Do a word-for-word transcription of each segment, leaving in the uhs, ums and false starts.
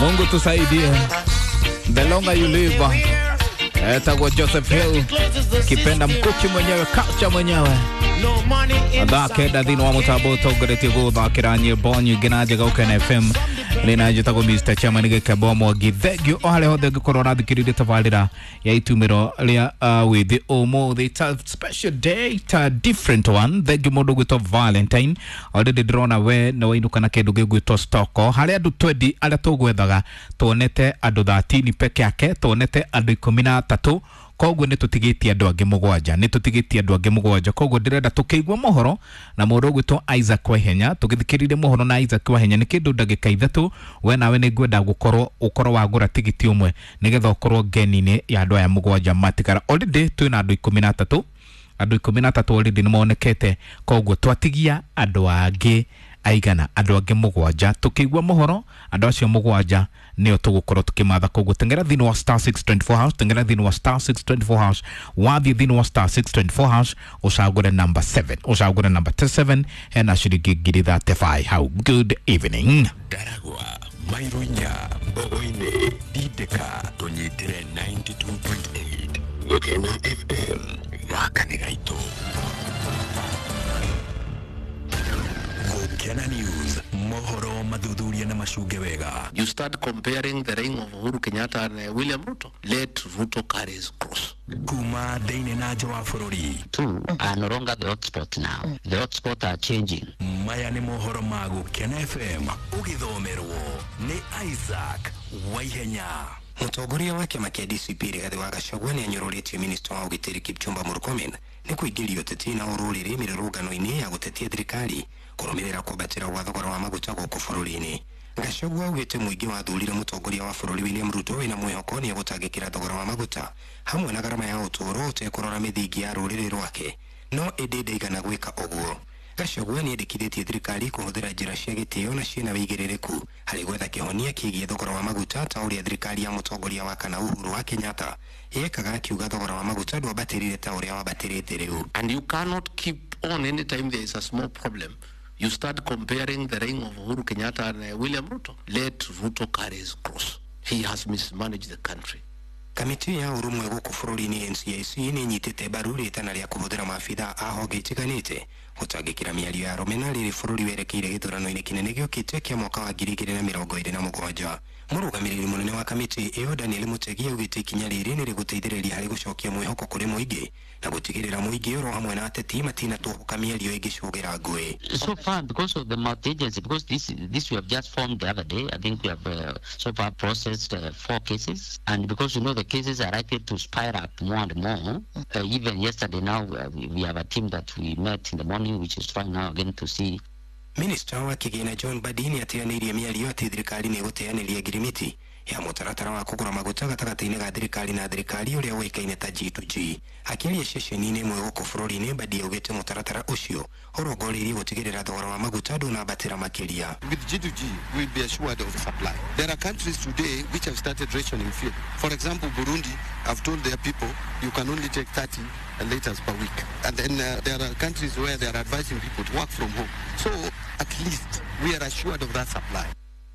Mungu tusaidie. The longer you live. Etagwo Joseph Hill, kipenda mkuki mwenyewe, culture mwenyewe. Thaa kenda thĩinĩ wa mũtambo ũtongoretie gũthakĩra nyĩmbo nyingĩ na njega Ũkena F M nĩ na njĩtagwo Mister Chairman Gĩkembo Mwangi. Thank you o harĩa hothe ũngĩkorwo ũrathikĩrĩria tabarĩra ya itumĩro rĩa uh, wĩthĩ ũmũthĩ. It's a special day, it's a different one. Thank you mũndũ ũgwĩtwo Valentine. Already ndĩrona we nĩ wainũka na kĩndũ gĩgwĩtwo stoko harĩa andũ twendi arĩa tũgwethaga. Tuonete andũ thirteen peke yake, tuonete andũ ikũmi na atatũ, koguo nĩ tũtigĩtie andũ angĩ mũgwanja, nĩ tũtigĩtie andũ angĩ mũgwanja. Koguo ndĩrenda tũkĩigua mohoro na mũndũ ũgwĩtwo Isaac Waihenya, tũgĩthikĩrĩrie mohoro na Isaac Waihenya nĩ kĩndũ ndagĩka ithatũ. We nawe nĩ ngwenda gũkorwo ũkorwo wagũra tigiti ũmwe nĩgetha ũkorwo ngeni-inĩ ya andũ aya mũgwanja matigara. Already twĩna andũ ikũmi na atatũ, andũ ikũmi na atatũ already nĩ monekete, koguo twatigia andũ angĩ aigana? Andũ angĩ mũgwanja. Tũkĩigua mohoro, andũ acio mũgwanja nĩo tũgũkorwo tũkĩmatha. Koguo tengera thĩinĩ wa star six two four hash, tengera thĩinĩ wa star six two four hash. Wathiĩ thĩinĩ wa star six two four hash, ũcagũre number seven, ũcagũre number seven, hena ciringi ngiri thirty-five hau. Good evening. Ndaragwa, Mairo inya, Mbogo-inĩ, Dindĩka, tũnyitĩre ninety-two point eight Gũkena F M. Gaka nĩ gaitũ. Gũkena News, mohoro mathuthuria na macunge wega. You start comparing the reign of Uhuru Kenyatta and uh, William Ruto. Let Ruto carry his cross. Kuma thĩinĩ na nja wa bũrũri. Two are no longer the hotspot now. The hotspot are changing. Maya nĩ mohoro ma Gũkena F M, ũgĩthomerwo nĩ Isaac Waihenya. Mũtongoria wa kĩama kĩa D C P Rigathĩ wa Gachagua nĩ anyũrũrĩtie minista wa ũgitĩri Kipchumba Murkomen nĩ kũingĩria ũteti na ũrũrĩrĩ mĩrũrũngano-inĩ ya gũtetia thirikari kũrũmĩrĩra kwambatĩra gwa thogora wa maguta gũkũ bũrũri-inĩ. Gachagua augĩte mũingĩ wathurire mũtongoria wa bũrũri William Ruto wĩna mwĩhoko nĩ egũtangĩkĩra thogora wa maguta hamwe na garama ya ũtũũro ũtekũrora mĩthingi ya rũrĩrĩ rwake, no ĩndĩ ndaigana gwĩka ũguo. Gachagua nĩ endekithĩtie thirikari kũhũthĩra njĩra cia gĩtĩo na ciĩna wĩigĩrĩrĩku harĩ gwetha kĩhonia kĩgiĩ thogora wa maguta, ta ũrĩa thirikari ya mũtongoria wa kana Uhuru wa Kenyatta yekaga, akiuga thogora wa maguta ndwambatĩrire ta ũrĩa wambatĩrĩte rĩu. And you cannot keep on, anytime there is a small problem, you start comparing the reign of Uhuru Kenyatta and uh, William Ruto. Let Ruto carry his cross. He has mismanaged the country. Kamĩtĩ ya ũrũmwe gũkũ bũrũri-inĩ N C I C nĩ ĩnyitĩte mbaru rĩtana rĩa kũhũthĩra maabitha a honge itiganĩte gũtangĩkĩra mĩario ya rũmena rĩrĩ bũrũri werekeire gĩthurano-inĩ kĩnene gĩũkĩte kĩa mwaka wa ngiri igĩrĩ na mĩrongo ĩrĩ na mũgwanja. Mũrũgamĩrĩri mũnene wa kamĩtĩ ĩyo Daniel Mutegi augĩte ikinya rĩrĩ nĩ rĩgũteithĩrĩria harĩ gũcokia mwĩhoko kũrĩ mũingĩ na gũtigĩrĩra mũingĩ oro hamwe na ateti matinatũhũka mĩario ĩngĩcũgĩra ngũĩ. So far, because of the multi-agency, because this this we have just formed the other day, I think we have uh, so far processed uh, four cases, and because you know the cases are likely to spire up more and more, uh, even yesterday now uh, we, we have a team that we met in the morning, which is trying now again to see. Minista wa kĩgĩna John Mbadi nĩ ateanĩirie mĩario atĩ thirikari nĩ ĩgũteanĩria ngirimiti ya mũtaratara wa kũgũra maguta gatagatĩ-inĩ ga thirikari na thirikari ũrĩa ũĩkaine ta G to G. Akĩaria ceceni-inĩ ĩmwe gũkũ bũrũri-inĩ, Mbadi augĩte mũtaratara ũcio ũrongoreirie gũtigĩrĩra thogora wa maguta ndũnambatĩra makĩria. With G to G, we'll be assured of supply. There are countries today which have started rationing fuel. For example, Burundi have told their people you can only take thirty liters per week. And then uh, there are countries where they are advising people to work from home. So at least we are assured of that supply.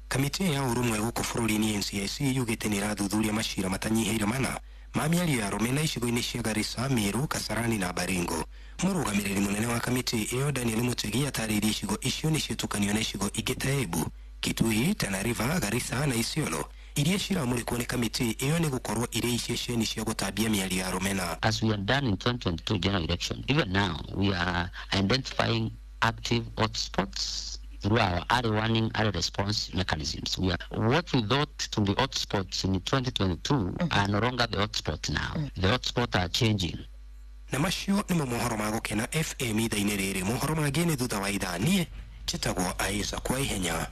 Kamĩtĩ ya ũrũmwe gũkũ bũrũri-inĩ N C I C yugĩte nĩ ĩrathuthuria macira matanyihĩire mana ma mĩario ya rũmena icigo-inĩ cia Garissa, Meru, Kasarani na Baringo. Mũrũgamĩrĩri mũnene wa kamĩtĩ ĩyo Daniel Mutegi atarĩirie icigo icio nĩ ciĩtũkanio na icigo ingĩ ta Embu, Kitui, Tana River, Garissa na Isiolo iria ciramũrĩkwo nĩ kamĩtĩ ĩyo nĩ gũkorwo irĩ iceceni cia gũtambia mĩario ya rũmena. As we have done in twenty twenty-two general election, even now we are identifying active hotspots through our early warning, early response mechanisms. We are, what we thought to be hotspots in twenty twenty-two are no longer the hotspot now. The hotspots are changing. Na macio nĩmo mohoro ma Gũkena F M ithaa-inĩ rĩrĩ. Mohoro mangĩ nĩ thutha wa ithaa. Niĩ njĩtagwo Isaac kwa ihenya.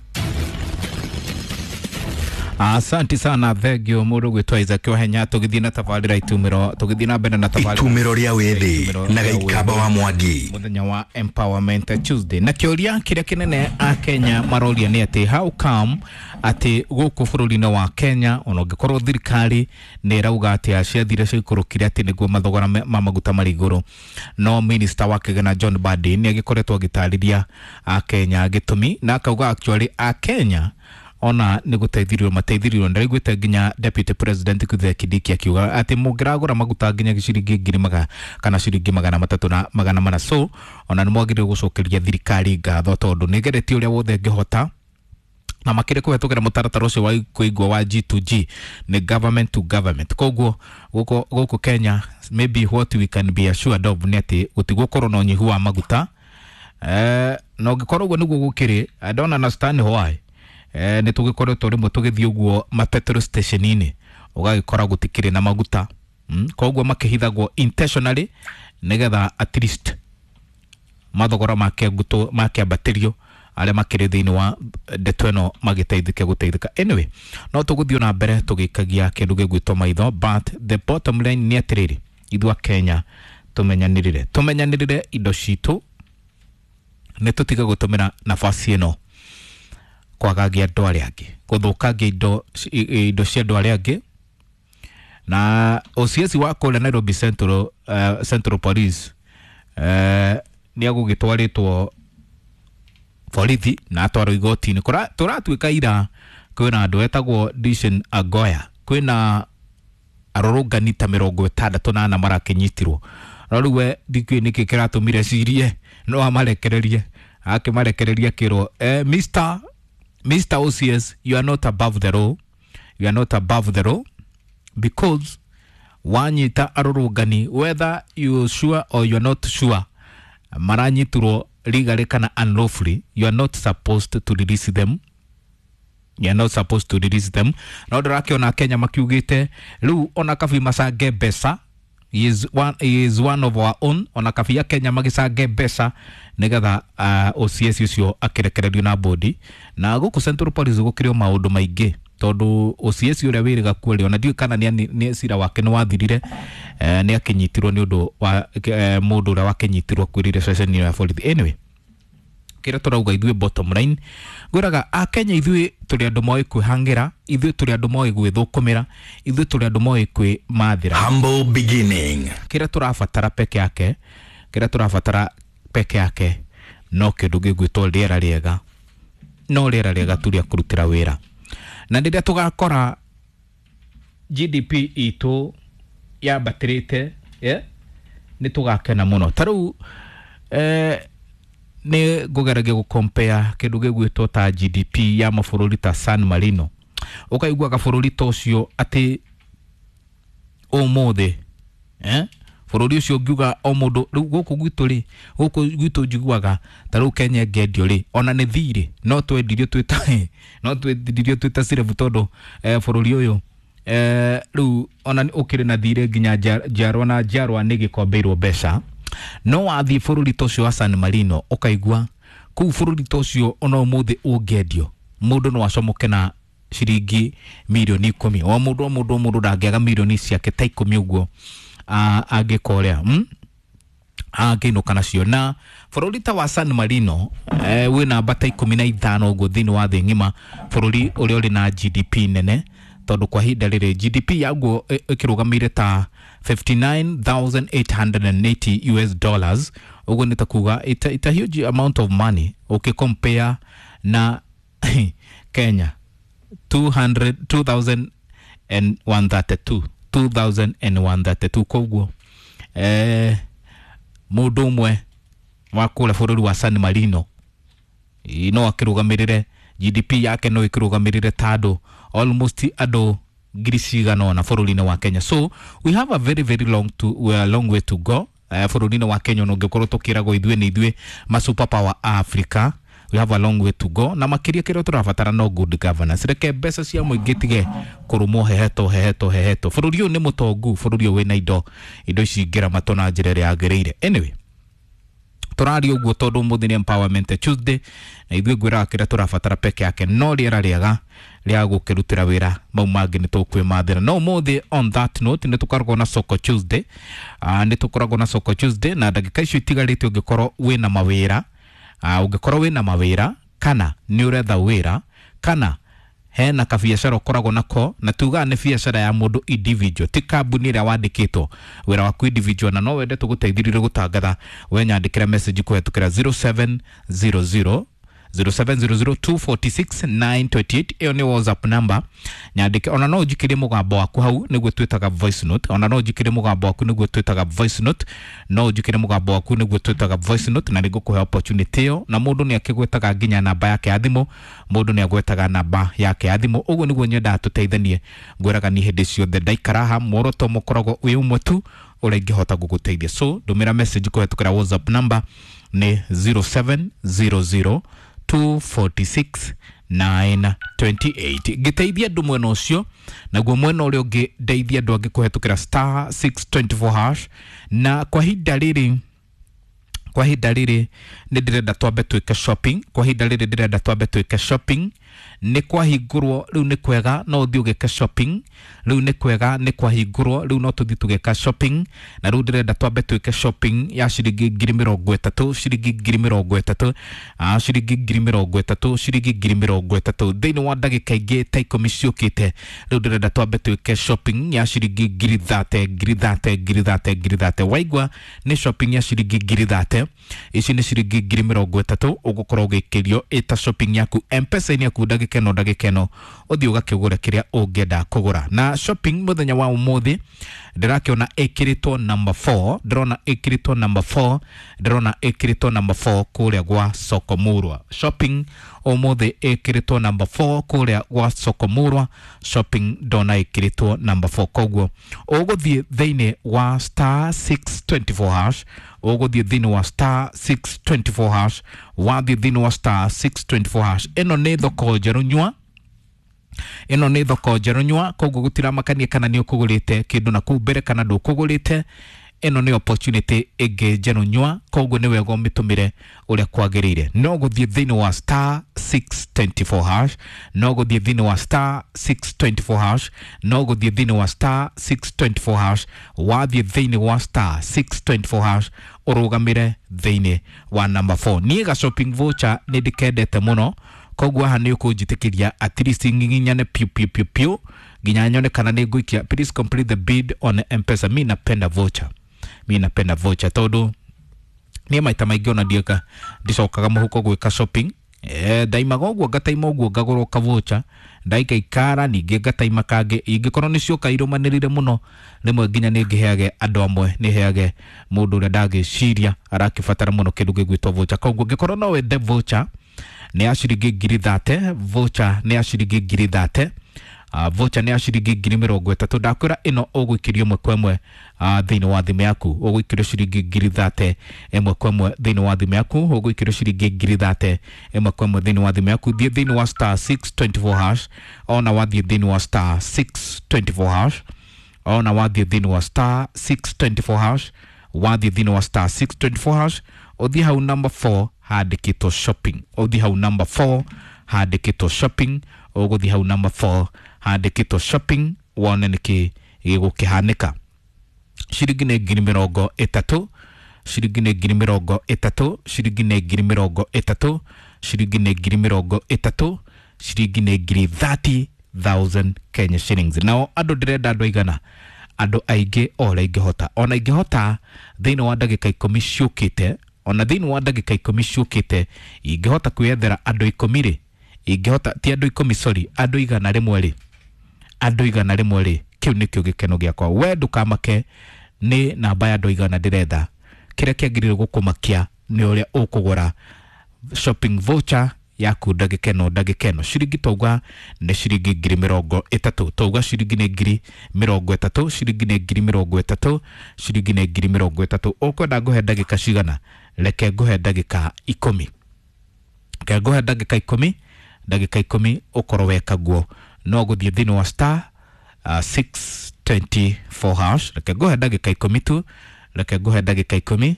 Asante sana, thengio mũndũ gwĩtwo Isaac Wahenya. Tũgĩthiĩ na tabarĩra itumĩro, tũgĩthiĩ na mbere na tabarĩra Itumĩro rĩa wĩthĩ na Gĩikamba wa Mwangi. Mũthenya wa Empowerment Tuesday, na kĩũria kĩrĩa kĩnene a Kenya maroria nĩ atĩ how come atĩ gũkũ bũrũri-inĩ wa Kenya, ona ũngĩkorwo thirikari nĩ ĩrauga atĩ ciathire ciaikũrũkire atĩ nĩguo mathogora me- ma maguta marĩ igũrũ, no minister wa kĩgĩna John Mbadi nĩ agĩkoretwo agĩtarĩria a Kenya gĩtũmi na akauga actually a Kenya Ona nĩ gũteithirio mateithirio. Ndĩraiguĩte nginya Deputy President Kithure Kindiki akiuga atĩ mũngĩragũra maguta nginya ciringi ngiri maga kana ciringi magana matatũ na magana mana, so ona nĩ mwagĩrĩirwo gũcokeria thirikari ngatho tondũ nĩ ĩgeretie ũrĩa wothe ĩngĩhota na makĩria kũhetũkĩra mũtaratara ũcio wa kũigua wa G to G, nĩ government to government. Koguo gũkũ gũkũ Kenya, maybe what we can be assured of nĩ atĩ gũtigũkorwo na ũnyihu wa maguta. eh, na ũngĩkorwo ũguo nĩguo gũkĩrĩ, I don't understand why eh, nĩ tũgĩkoretwo rĩmwe tũgĩthiĩ ũguo ma petrol station-inĩ ũgagĩkora gũtikĩrĩ na maguta mm? Koguo makĩhithagwo intentionally nĩgetha at least mathogora makĩambatĩrio, arĩa makĩrĩ thĩinĩ wa ndeto ĩno magĩteithĩke gũteithĩka. Anyway, no tũgũthiĩ na mbere tũgĩikagia kĩndũ gĩgwĩtwo maitho, but the bottom line nĩ atĩrĩrĩ, ithuĩ a Kenya tũmenyanĩrĩre tũmenyanĩrĩre indo citũ, nĩ tũtige gũtũmĩra nafasi ĩno kwagagia andũ arĩa angĩ, gũthũkangia indo indo cia andũ arĩa angĩ. Na O C S wa kũrĩa Nairobi Central, uh, Central Police uh, nĩ agũgĩtwarĩtwo borithi na atwarwo igoti-inĩ. Tũratuĩka ira kwĩna andũ etagwo Dishen Agoya, kwĩna arũrũngani ta mĩrongo ĩtandatũ na ana marakĩnyitirwo, no rĩu we ndikĩũĩ nĩkĩ kĩratũmire cirie no amarekererie, akĩmarekereria akĩrwo eh, Mister Mister O C S, you are not above the law, you are not above the law, because wanyita arũrũngani, whether you sure or you are not sure maranyitirwo legally kana unlawfully, you are not supposed to release them, you are not supposed to release them. No ndĩrakĩona Kenya makiugĩte rĩu ona kabi macange mbeca, he is one, he is one of our own, ona kabi ya Kenya magĩcange mbeca nĩgetha uh, O C S ũcio akĩrekererio na bodi. Na gũkũ Central Police gũkĩrĩ o maũndũ maingĩ tondũ O C S ũrĩa wĩrĩga kuo rĩ, ona ndiũĩ kana nĩ cira wake nĩ wathirire, eh, nĩ akĩnyitirwo nĩ ũndũ wa eh, mũndũ ũrĩa wakĩnyitirwo kwĩrire ceceni ya borithi. Anyway, kĩrĩa tũrauga ithuĩ, bottom line, ngwĩraga akenya ithuĩ tũrĩ andũ moĩ kwĩhangĩra, ithuĩ tũrĩ andũ moĩ gwĩthũkũmĩra, ithuĩ tũrĩ andũ moĩ kwĩmathĩra. Humble beginning. Kĩrĩa tũrabatara peke yake, kĩrĩa tũrabatara peke yake no kĩndũ gĩgwĩtwo rĩera rĩega, no rĩera rĩega tu rĩa kũrutĩra wĩra. Na rĩrĩa tũgakora G D P itũ yambatĩrĩte, yeah, nĩ tũgakena mũno. Ta rĩu eh, nĩ ngũgeragia gũkompea kĩndũ gĩgwĩtwo ta G D P ya mabũrũri ta San Marino, ũkaiguaga bũrũri ta ũcio atĩ ũmũthĩ eh? Bũrũri ũcio ngiuga o mũndũ rĩu gũkũ gwitũ rĩ, gũkũ gwitũ njiguaga ta rĩu Kenya ĩngĩendio rĩ, ona nĩ thirĩ no twendirio twĩ no twendirio twĩ ta cirebu tondũ eh, bũrũri ũyũ eh, rĩu ona ũkĩrĩ na thirĩ nginya njiarwa na njiarwa nĩ gĩkombeirwo mbeca. No wathiĩ bũrũri ta ũcio wa San Marino ũkaigua kũu bũrũri ta ũcio ona ũmũthĩ ũngĩendio mũndũ no acomoke na ciringi mirioni ikũmi, o mũndũ o mũndũ o mũndũ ndangĩaga mirioni ciake ta ikũmi ũguo angĩka ũrĩa mm? angĩinũka nacio. Na bũrũri ta wa San Marino eh, wĩ namba ta ikũmi na ithano ũguo thĩinĩ wa thĩ ng'ima, bũrũri ũrĩa ũrĩ na G D P nene, tondũ kwa ihinda rĩrĩ G D P yaguo ĩkĩrũgamĩire ta fifty-nine thousand eight hundred eighty U S dollars. Ũguo nĩ ta kuga it's a, it's a huge amount of money ũkĩcompare na Kenya two hundred two thousand one hundred thirty-two, two thousand one hundred thirty-two. Koguo eh, mũndũ ũmwe wa kũrĩa bũrũri wa San Marino no akĩrũgamĩrĩre G D P yake no ĩkĩrũgamĩrĩre ta andũ almost andũ ngiri cigana ũna bũrũri-inĩ wa Kenya. So we have a very very long to we long way to go uh, bũrũri-inĩ wa Kenya. Ona ũngĩkorwo tũkĩragwo ithuĩ nĩ ithuĩ ma super power Africa, we have a long way to go. Na makĩria kĩrĩa tũrabatara no good governance. Reke mbeca cia mũingĩ tige kũrũmwo hehetwo hehetwo hehetwo. Bũrũri ũyũ nĩ mũtongu, bũrũri ũyũ wĩna indo indo ici ingĩramatwo na njĩra ĩrĩa yagĩrĩire. Anyway, tũraria ũguo tondũ ũmũthĩ nĩ Empowerment Tuesday, na ithuĩ ngwĩraga kĩrĩa tũrabatara peke yake no rĩera rĩega rĩa gũkĩrutĩra wĩra, mau mangĩ nĩ tũkwĩmathĩra. No ũmũthĩ, on that note, nĩ tũkoragwo na Soko Tuesday, uh, nĩ tũkoragwo na Soko Tuesday, na ndagĩka icio itigarĩte ũngĩkorwo wĩna mawĩra, uh, ũngĩkorwo wĩna mawĩra kana nĩ ũretha wĩra kana hena kabiacara ũkoragwo nako, na tugaga nĩ biacara ya mũndũ individual, ti kambuni ĩrĩa wandĩkĩtwo, wĩra waku individual, na no wende tũgũteithĩrĩrie gũtangatha, we nyandĩkĩra message kũhetũkĩra zero seven zero zero zero seven zero zero two four six nine two eight ĩyo nĩ WhatsApp number nyandĩke. Ona no ũnjikĩrie mũgambo waku hau nĩguo twĩtaga voice note. Ona no ũnjikĩrie mũgambo waku nĩguo twĩtaga voice note. No ũnjikĩrie mũgambo waku nĩguo twĩtaga voice note, na nĩngũkũhe opportunity ĩyo. Na mũndũ nĩ akĩgwetaga nginya namba yake ya thimũ, mũndũ nĩ agwetaga namba yake ya thimũ. Ũguo nĩguo nyendaga tũteithanie. Ngwĩraga niĩ hĩndĩ ciothe ndaikara haha muoroto mũkoragwo wĩ ũmwe tu ũrĩa ingĩhota gũgũteithia. So ndũmĩra message kũhetũkĩra WhatsApp number nĩ zero seven zero zero two four six nine two eight. Ngĩteithia andũ mwena ũcio, naguo mwena ũrĩa ũngĩ ndeithia andũ angĩ kũhetũkĩra star six two four hash. Na kwa ihinda rĩrĩ, kwa ihinda rĩrĩ nĩ ndĩrenda twambe twĩke shopping. Kwa ihinda rĩrĩ ndĩrenda twambe twĩke shopping. Nĩ kwahingũrwo rĩu nĩ kwega no ũthiĩ ũgĩke shopping. Rĩu nĩ kwega nĩ kwahingũrwo rĩu no tũthiĩ tũgĩka shopping. Na rĩu ndĩrenda twambe twĩke shopping ya ciringi ngiri mĩrongo ĩtatũ, ciringi ngiri mĩrongo ĩtatũ, ah, ciringi ngiri mĩrongo ĩtatũ, ciringi ngiri mĩrongo ĩtatũ thĩinĩ wa ndagĩka ingĩ ta ikũmi ciũkĩte. Rĩu ndĩrenda twambe twĩke shopping ya ciringi ngiri thate, ngiri thate, ngiri thate, ngiri thate. Waigua nĩ shopping ya ciringi ngiri thate, ici nĩ ciringi ngiri mĩrongo ĩtatũ ũgũkorwo ũgĩkĩrio ĩta shopping yaku M-Pesa-inĩ yaku ndagĩka ĩno ndagĩka ĩno ũthiĩ ũgakĩgũra kĩrĩa ũngĩenda kũgũra. Na shopping mũthenya wa ũmũthĩ ndĩrakĩona ĩkĩrĩtwo number four, ndĩrona ĩkĩrĩtwo number four, ndĩrona ĩkĩrĩtwo number four kũrĩa gwa Soko Murwa. Shopping ũmũthĩ ĩkĩrĩtwo number four kũrĩa gwa Soko Murwa. Shopping ndona ĩkĩrĩtwo number four. Koguo ũgũthiĩ thĩinĩ wa star six two four hash, ũgũthiĩ thĩinĩ wa star six two four hash, wathiĩ thĩinĩ wa star six two four hash. Ĩno nĩ thoko njerũ nyua, ĩno nĩ thoko njerũ nyua, koguo gũtiramakania kana nĩ ũkũgũrĩte kĩndũ na kũu mbere kana ndũkũgũrĩte. Ĩno nĩ opportunity ĩngĩ njerũ nyua, koguo nĩ wega ũmĩtũmĩre ũrĩa kwagĩrĩire. No gũthiĩ thĩinĩ wa star six two four hash, no gũthiĩ thĩinĩ wa star six two four hash, no gũthiĩ thĩinĩ wa star six two four hash. Wathiĩ thĩinĩ wa star six two four hash ũrũgamĩre thĩinĩ wa number four. Niĩ ga shopping voucher nĩ ndĩkendete mũno, koguo haha nĩ ũkũnjĩtĩkĩria at least nginyane piu piu piu piu nginya nyone kana nĩ ngũikia. Please complete the bid on M-Pesa. Mi napenda voucher, mi napenda voucher tondũ niĩ maita maingĩ ona ndiĩka ndicokaga mũhuko gwĩka shopping. Eh, ndaimaga ũguo ngataima ũguo ngagũra ka voucher, ndaikaikara ningĩ ngataima kangĩ. Ingĩkorwo nĩ cioka irũmanĩrĩire mũno rĩmwe nginya nĩ ngĩheage andũ amwe, nĩ heage mũndũ ũrĩa ndagĩciria arakĩbatara mũno kĩndũ gĩgwĩtwo voucher. Koguo ngĩkorwo no wende voucher nĩ ya ciringi ngiri thate, voucher nĩ ya ciringi ngiri thate, uh, voucher nĩ ya ciringi ngiri mĩrongo ĩtatũ. Ndakwĩra ĩno ũgũikĩrio ĩmwe kwa ĩmwe uh, thĩinĩ wa thimũ yaku. Ũgũikĩrio ciringi ngiri thate ĩmwe kwa ĩmwe thĩinĩ wa thimũ yaku. Ũgũikĩrio ciringi ngiri thate ĩmwe kwa ĩmwe thĩinĩ wa thimũ yaku. Thiĩ thĩinĩ wa star six two four hash, ona wathiĩ thĩinĩ wa star six two four hash, ona wathiĩ thĩinĩ wa star six two four hash, wathiĩ thĩinĩ wa star six two four hash, ũthiĩ hau number four handĩkĩtwo shopping. Ũthiĩ hau number four handĩkĩtwo shopping, ũgũthiĩ hau number four handĩkĩtwo shopping wone nĩkĩ gĩgũkĩhanĩka. Ciringi nĩ ngiri mĩrongo ĩtatũ, ciringi nĩ ngiri mĩrongo ĩtatũ, ciringi nĩ ngiri mĩrongo ĩtatũ, ciringi nĩ ngiri mĩrongo ĩtatũ, ciringi nĩ ngiri thirty thousand Kenya shillings. Nao andũ ndĩrenda andũ aigana, andũ aingĩ o ũrĩa ingĩhota. Ona ingĩhota thĩinĩ wa ndagĩka ikũmi ciũkĩte, ona thĩinĩ wa ndagĩka ikũmi ciũkĩte ingĩhota kwĩyethera andũ ikũmi rĩ, ingĩhota ti andũ ikũmi sorry, andũ igana rĩmwe rĩ, andũ igana rĩmwe rĩ, kĩu nĩkĩo gĩkeno gĩakwa. We ndũkamake nĩ namba ya andũ igana ndĩretha. Kĩrĩa kĩagĩrĩire gũkũmakia nĩ ũrĩa ũkũgũra shopping voucher yaku ndagĩka ĩno ndagĩka ĩno. Ciringi tauga nĩ ciringi ngiri mĩrongo ĩtatũ, tauga ciringi nĩ ngiri mĩrongo ĩtatũ, ciringi nĩ ngiri mĩrongo ĩtatũ, ciringi nĩ ngiri mĩrongo ĩtatũ. Ũkwenda ngũhe ndagĩka cigana? Reke ngũhe ndagĩka ikũmi, reke ngũhe ndagĩka ikũmi, ndagĩka ikũmi ũkorwo weka guo. No gũthiĩ thĩinĩ wa star uh, six two four hash. Reke ngũhe ndagĩka ikũmi tu, reke ngũhe ndagĩka ikũmi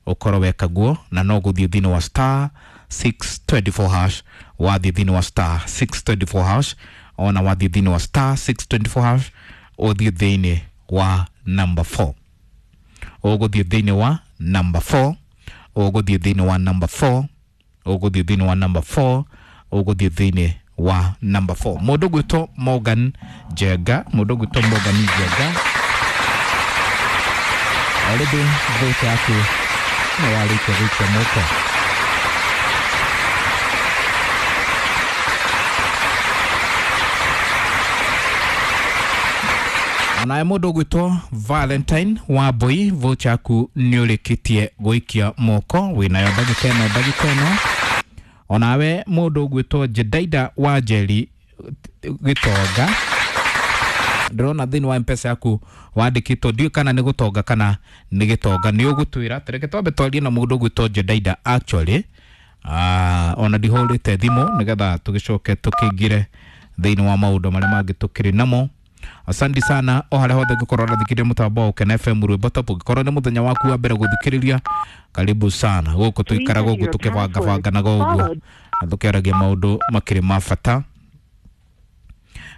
ũkorwo weka guo, na no gũthiĩ thĩinĩ wa star six two four hash. Wathiĩ thĩinĩ wa star six two four hash, ona wathiĩ thĩinĩ wa star six two four hash ũthiĩ thĩinĩ wa number four, ũgũthiĩ thĩinĩ wa number four, ũgũthiĩ thĩinĩ wa number four, ũgũthiĩ thĩinĩ wa number four, ũgũthiĩ thĩinĩ wa number four. Mũndũ gwĩtwo Morgan Njenga, mũndũ gwĩtwo Morgan Njenga, already vote yaku nĩ warĩkia gũikia moko. Onawe mũndũ ũgwĩtwo Valentine wa Mbui, voucher yaku nĩ ũrĩkĩtie gũikia moko, wĩnayo ndagĩka ĩno ndagĩka ĩno. Onawe mũndũ ũgwĩtwo Jedaida wa Njeri Gĩtonga, ndĩrona thĩinĩ wa Mpesa yaku wandĩkĩtwo, ndiũĩ kana nĩ gũtonga kana nĩ gĩtonga, nĩ ũgũtwĩra. Tareke twambe twarie na mũndũ ũgwĩtwo Jedaida actually. Ah, ona ndihũrĩte thimũ nĩgetha tũgĩcoke tũkĩingĩre thĩinĩ wa maũndũ marĩa mangĩ tũkĩrĩ namo. Asante sana o harĩa hothe ũngĩkorwo ũrathikĩrĩria mũtambo wa Ũkena F M Rwĩmbo Top. Ũngĩkorwo nĩ mũthenya waku wa mbere gũthikĩrĩria, karibu sana gũkũ tũikara gũkũ tũkĩbangabanganaga ũguo na tũkĩaragia maũndũ makĩrĩ ma bata.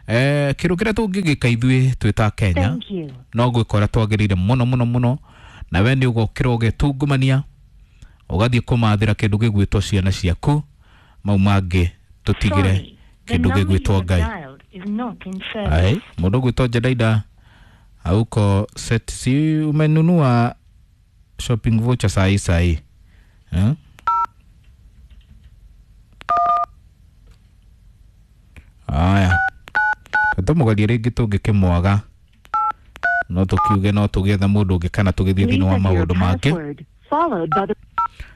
Eh, kĩndũ kĩrĩa tũngĩgĩka ithuĩ twĩ ta Kenya no gwĩka ũrĩa twagĩrĩire mũno mũno mũno, na we nĩ ũgokĩra ũgetungumania ũgathiĩ kũmathĩra kĩndũ gĩgwĩtwo ciana ciaku, mau mangĩ tũtigĩre kĩndũ gĩgwĩtwo Ngai. Ai, mũndũ ũgwĩtwo Jedaida auko set, si umenunua shopping voucher sahi sahi eh? Aya, tũmũgerie rĩngĩ tũngĩkĩmwaga no tũkiuge no tũgĩethe mũndũ ũngĩ kana tũgĩthiĩ thĩinĩ wa maũndũ mangĩ.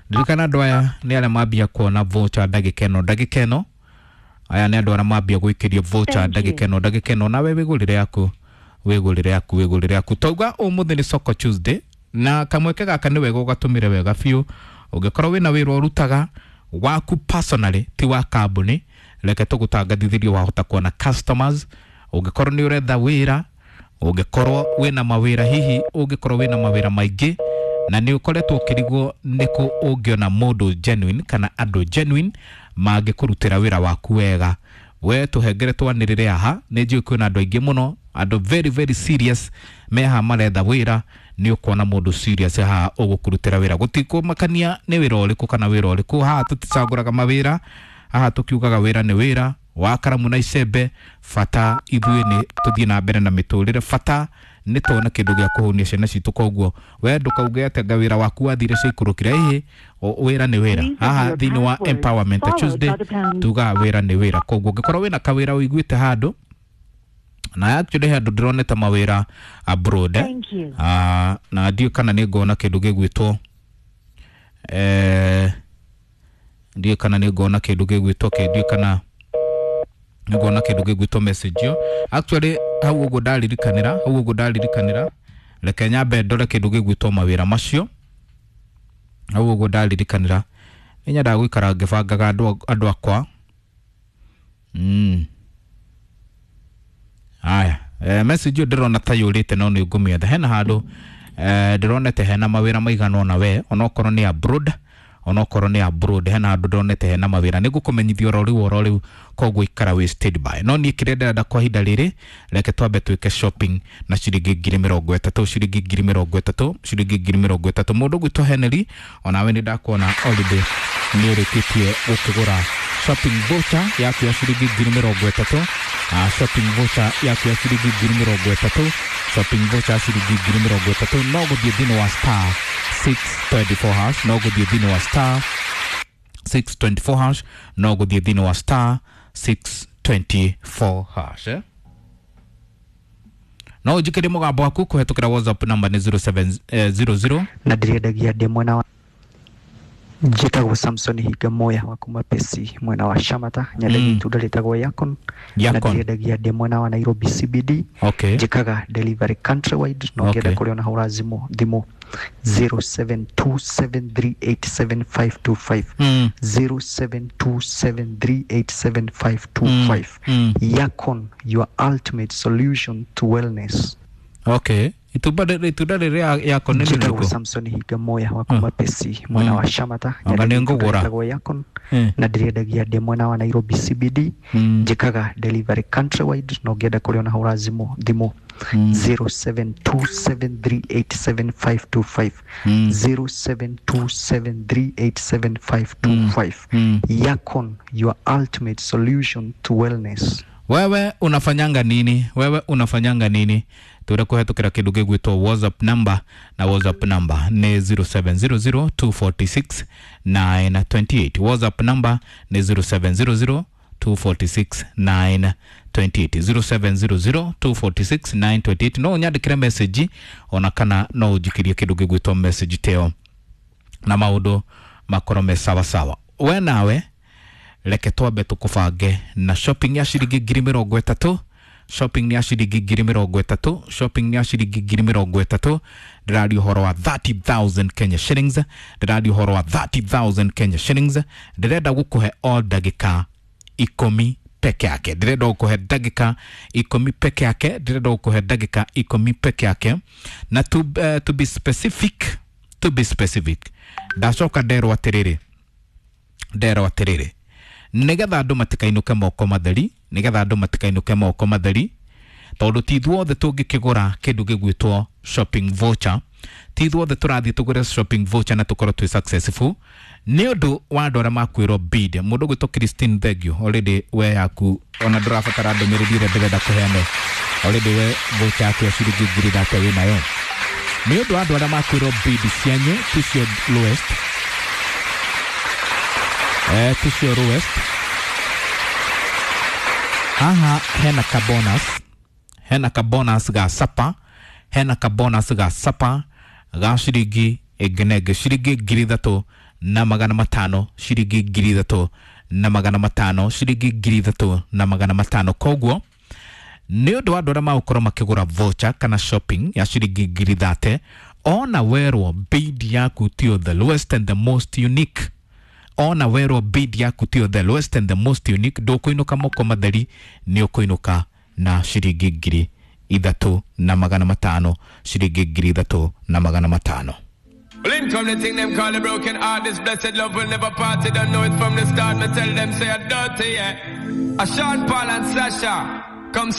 Ndirikana andũ aya nĩ arĩa mambia kuona voucher ndagĩka ĩno ndagĩka ĩno. Aya nĩ andũ arĩa mambia gwĩkĩrio voucher ndagĩka ĩno ndagĩka ĩno, nawe wĩgũrĩre yaku wĩgũrĩre yaku wĩgũrĩre yaku. Twauga ũmũthĩ nĩ Soko Tuesday, na kamweke gaka nĩ wega ũgatũmĩre wega biũ. Ũngĩkorwo wĩna wĩra ũrutaga waku personally ti wa kambuni, reke tũgũtangathithĩrie wahota kuona customers. Ũngĩkorwo nĩ ũretha wĩra, ũngĩkorwo wĩna mawĩra hihi, ũngĩkorwo wĩna mawĩra maingĩ na nĩ ũkoretwo ũkĩrigwo nĩkũ ũngĩona mũndũ genuine kana andũ genuine mangĩkũrutĩra wĩra waku wega, we tũhengere twanĩrĩre haha. Nĩ njũĩ kwĩna andũ aingĩ mũno, andũ very very serious me haha maretha wĩra. Nĩ ũkuona mũndũ serious haha ũgũkũrutĩra wĩra, gũtikũmakania nĩ wĩra ũrĩkũ kana wĩra ũrĩkũ. Haha tũticagũraga mawĩra, haha tũkiugaga wĩra nĩ wĩra wa karamu na icembe. Bata ithuĩ nĩ tũthiĩ na mbere na mĩtũrĩre, bata nĩ tuone kĩndũ gĩa kũhũnia ciana citũ. Koguo we ndũkauge atĩ anga wĩra waku wathire ciaikũrũkire, ĩhĩ, wĩra nĩ wĩra. Haha thĩinĩ wa Empowerment Tuesday tugaga wĩra nĩ wĩra. Koguo ũngĩkorwo wĩna kawĩra ũiguĩte handũ, na actually handũ ndĩronete mawĩra abroad, ah, na ndiũĩ kana nĩ ngona kĩndũ gĩgwĩtwo eh, ndiũĩ kana nĩ ngona kĩndũ gĩgwĩtwo kĩ, ndiũĩ kana nĩ ngona kĩndũ gĩgwĩtwo message ĩyo. Actually hau ũguo ndaririkanĩra, hau ũguo ndaririkanĩra, reke nyambe ndore kĩndũ gĩgwĩtwo mawĩra macio. Hau ũguo ndaririkanĩra, nĩ nyendaga gũikara ngĩbangaga andũ andũ akwa. Mm. Aya, eh, message ĩyo ndĩrona ta yũrĩte no nĩ ngũmĩetha. Hena handũ eh, ndĩronete hena mawĩra maigana ũna we, onokorwo nĩ abroad, onokorwo nĩ abroad hena handũ ndĩronete hena mawĩra. Nĩ ngũkũmenyithia oro rĩu oro rĩu, koguo ikara wĩ stand by. No niĩ kĩrĩa ndĩrenda kwa ihinda rĩrĩ, reke twambe twĩke shopping na ciringi ngiri mĩrongo ĩtatũ, ciringi ngiri mĩrongo ĩtatũ, ciringi ngiri mĩrongo ĩtatũ. Mũndũ ũgwĩtwo Henry, onawe nĩ ndakuona already nĩ ũrĩkĩtie gũkĩgũra shopping voucher yaku ya ciringi ngiri mĩrongo ĩtatũ. Uh, shopping voucher yaku ya ciringi ngiri mĩrongo ĩtatũ, shopping voucher ya ciringi ngiri mĩrongo ĩtatũ. No gũthiĩ thĩinĩ wa star six twenty four hash, no gũthiĩ thĩinĩ wa star six twenty four hash, no gũthiĩ thĩinĩ wa star six twenty four hash eh? No ũnjĩkĩre mũgambo waku kũhetũkĩra WhatsApp number nĩ zero seven zero zero. Na ndĩrendagia ndĩ mwena wa njĩtagwo Samson Hinga Moya wa kuma Pesi mwena wa Shamata, nyendagia Mm. itunda rĩtagwo Yakon, na Yakon. ndĩrendagia ndĩ mwena wa Nairobi C B D. Okay. Njĩkaga delivery countrywide, na ũngĩenda Okay. kũrĩa ona hũra thimũ thimũ zero seven two seven three eight seven five two five Mm. zero seven two seven three eight seven five two five. Mm. Yakon, your ultimate solution to wellness. Okay. Itunda rĩ- itunda rĩrĩa Yakon nĩ Njĩtagwo rĩrĩkũ? Samson Hinga Moya wa kuma Pesi mwena Mm. wa Shamata, Anga nĩ nyendagia itunda ngũgũra. rĩtagwo Yakon, Eh. na ndĩrendagia ndĩ mwena wa Nairobi C B D. Mm. Njĩkaga delivery countrywide, na ũngĩenda kũrĩa ona hũra thimũ thimũ Mm. zero seven two seven three eight seven five two five Mm. zero seven two seven three eight seven five two five. Mm. Yakon, your ultimate solution to wellness. Wewe unafanyanga nini? Wewe unafanyanga nini? Ture kuhetukira kindu gigwitwo WhatsApp number, na WhatsApp number ni zero seven zero zero two four six nine two eight. WhatsApp number ni zero seven zero zero two four six nine two eight zero seven zero zero two four six nine two eight. No nyandikire message ona kana no unjikirie kindu gigwitwo message teo na maundu makorwo me sawa sawa. We nawe reke twambe tukubange na shopping ya ciringi ngiri mirongo itatu, shopping ya ciringi ngiri mirongo itatu, shopping ya ciringi ngiri mirongo itatu. Ndĩraria ũhoro wa thirty thousand Kenya shillings, ndĩraria ũhoro wa thirty thousand Kenya shillings. Ndĩrenda gũkũhe o ndagĩka ikũmi peke yake, ndĩrenda gũkũhe ndagĩka ikũmi peke yake, ndĩrenda gũkũhe ndagĩka ikũmi peke yake. Na to, uh, to be specific, to be specific, ndacoka nderwo atĩrĩrĩ, nderwo atĩrĩrĩ nigetha andũ matikainũke moko matheri, nigetha andũ matikainũke moko matheri, tondũ ti ithuothe tũngĩkĩgũra kĩndũ gĩgwĩtwo shopping voucher, ti ithuothe tũrathiĩ tũgũre shopping voucher na tũkorwo twĩ successful nĩ ũndũ wa andũ arĩa makwĩrwo bid. Mũndũ ũgwĩtwo Christine Thengio, already we yaku ona ndũrabatara ndũmĩrĩri ĩrĩa ndĩrenda kũheana, already we voucher yaku ya ciringi ngiri ithatũ wĩ nayo. Nĩ ũndũ wa andũ arĩa makwĩrwo bid cianyu ticio lowest, eh, ticio lowest. Haha hena ka bonus, hena ka bonus ga sapa, hena ka bonus ga sapa ga ciringi ĩngĩ na ĩngĩ, ciringi ngiri ithatũ na magana matano, ciringi ngiri ithatũ na magana matano, ciringi ngiri ithatũ na magana matano. Koguo nĩ ũndũ wa andũ arĩa magũkorwo makĩgũra voucher kana shopping ya ciringi ngiri thate, ona werwo bid yaku tio the lowest and the most unique, ona werwo bid yaku tio the lowest and the most unique, ndũkũinũka moko matheri, nĩ ũkũinũka na ciringi ngiri ithatũ na magana matano, ciringi ngiri ithatũ na magana matano. Well, in come the thing them call a broken heart. This blessed love will never part. They don't know it from the start. Me tell them say I'm dirty, yeah. A Sean Paul and Sasha.